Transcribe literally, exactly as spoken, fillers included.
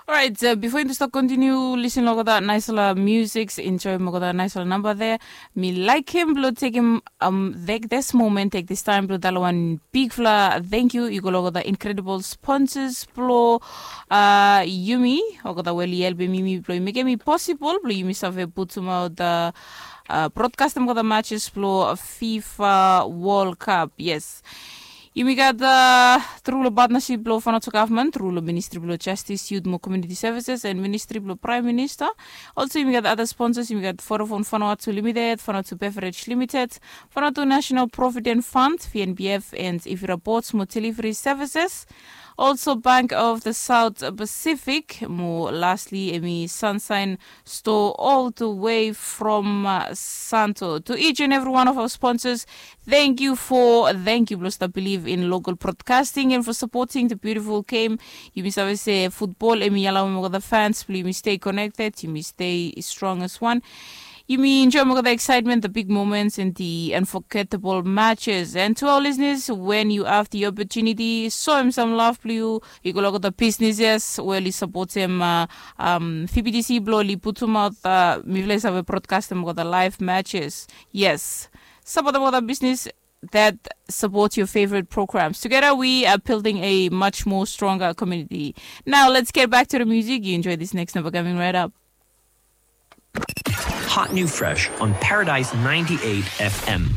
Orait, bifo yumi tu stap kontiniu lisin long olgeta naisala musik, enjoim olgeta naisala namba de, mi laikim blong tekim um, tek this moment, tek this time blong talem wan bigfala thank you i go long olgeta incredible sponsors blong uh, yumi, olgeta we oli helpim yumi blong mekim i posibol blong yumi save putumaot uh, uh, broadcastim olgeta matches blong fifa world cup. Yes. Yumi gat uh, tru long partnership blong Vanuatu gavman, tru long ministri blong justice, youth mo community services and ministri blong prime minister. Also yumi gat other sponsors, yumi gat Vodafone Vanuatu Limited, Vanuatu Beverage Limited, Vanuatu National Provident Fund, V N B F, and Ivira Ports mo delivery services. Also Bank of the South Pacific mo lastly emi Sunshine Store all the way from uh, Santo. To each and every one of our sponsors, thank you for thank you blong stap believe in local broadcasting and for supporting the beautiful game. Yumi save se football emi alawem olgeta fans blong yumi stay connected, yumi stay strong as one. Yumi enjoim olgeta excitement, the big moments and the unforgettable matches. And to our listeners, when you have the opportunity, soem sam love blong yu i go long olgeta businesses we oli sapotem uh, um, V B T C blong oli putumaot uh, mifala i save broadcastem olgeta live matches. Yes. Sapotem olgeta business that support your favorite programs. Together, we are building a much more stronger community. Now, let's get back to the music. You enjoy this next number coming right up. Hot new fresh on Paradise ninety-eight F M.